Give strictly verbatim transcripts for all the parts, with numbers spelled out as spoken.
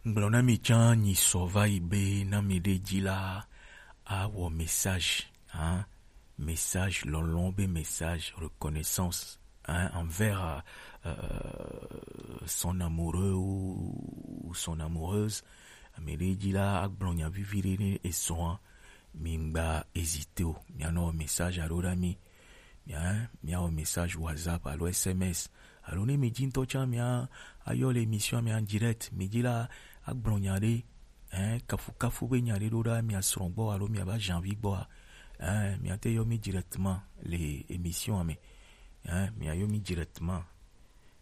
Gblɔ na mi tsã nyi sɔ va yi be na mi ɖe dzi la, awɔ message, hein, message lɔlɔ̃ be message reconnaissance, hein, envers euh, son amoureux ou son amoureuse. Mi ɖe dzi la, agblɔ nya vivi ɖe ne ezɔa, mi ŋgba hésiter o, mi anɔ message alo ɖa mi, mi, hein, mi awɔ message WhatsApp alo S M S, alo ne mi dzi ŋutɔ tsã mi ayɔ le émission mi en direct, mi dzi la, agblɔ nya ɖe, hein, kafukafu be nya ɖe ɖo ɖa mia srɔ̃ gbɔ alo mia ba janvi gbɔa, hein, mia te yɔ mi directement le émission me, hein, mia yɔ mi directement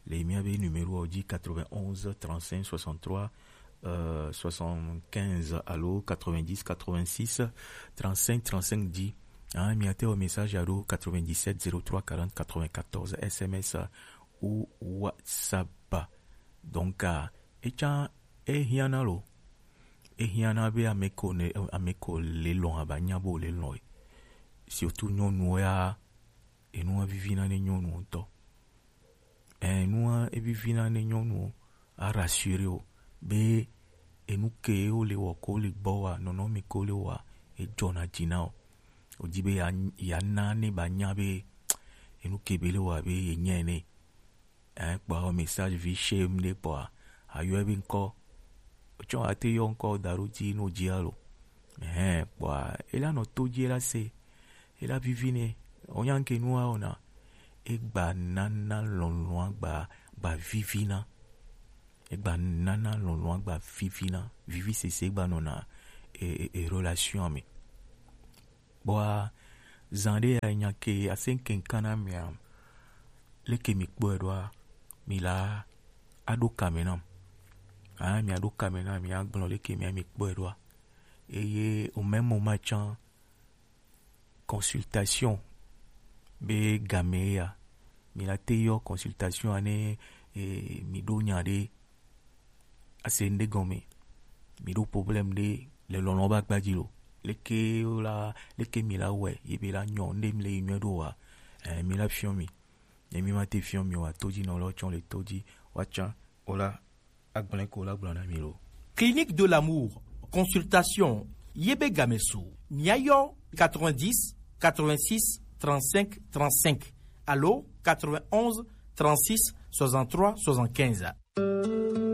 le mia be numéro dzi quatre-vingt-onze trente-cinq soixante-trois euh, soixante-quinze alo quatre-vingt-dix quatre-vingt-six trente-cinq trente-cinq dzi, hein, mia te yɔ message alo quatre-vingt-dix-sept zéro trois quarante quatre-vingt-quatorze S M S ou WhatsApp. Donc, euh, etsã ehiã na lo, ehiã na be ame ko ne ame ko le lɔ̃ aba nya bo le lɔ̃ e. Surtout nyɔnuwo ya, enua vivi na ne nyɔnuwo ŋutɔ. Enua evivi na ne nyɔnuwo a rassurer o be enu ke wo le wɔ ko le gbɔ wa, nɔnɔme ko le wa, edzɔna dzi na o. Wodzi be ya ya na ne ba nya be enu ke be le wa be ye nya ene. Hein, kpɔa, message vi chez m ɖe kpɔa, ayɔe be ŋkɔ. Tsɔ ate yɔ ŋkɔ da ɖo dzi no dzi alo. Hein, kpɔa, ela nɔ to dzi, ela se, ela vivi ne. Onya ŋke nua ona. Egba nana lɔlɔ̃a gba, gba vivina. Egba nana lɔlɔ̃a gba vivina. Vivi sese gba nɔna e, e, e relation me. Kpɔa, zã ɖe ya nya ke asɛn keŋkan na mia, leke mi kpɔe ɖoa, mi la aɖo kame nam. Ah, mi aɖo kame nam, mi agblɔ leke mi mi kpɔe ɖoa. Eye au même moment tsã, consultation be game ya, mi la te yɔ consultation ane, e, mi ɖo nya ɖe ase ŋɖe gɔme, mi ɖo problème ɖe le lɔlɔ̃ ba gba dzi lo. Leke la, leke mi la wɛ ye be la nyɔ ŋɖe mi le yi nyɔ ɖo wa, eh, mi la fiɔ mi. Ne mi ma te fiɔ mi wa, to dzi nɔ lɔ tsɔ le to dzi wa tsã o la, agblẽ ko la gblɔ na mi lo. Clinique de l'amour, consultation, ye be game su, mia yɔ quatre-vingt-dix quatre-vingt-six trente-cinq trente-cinq alo quatre-vingt-onze trente-six soixante-trois soixante-quinze.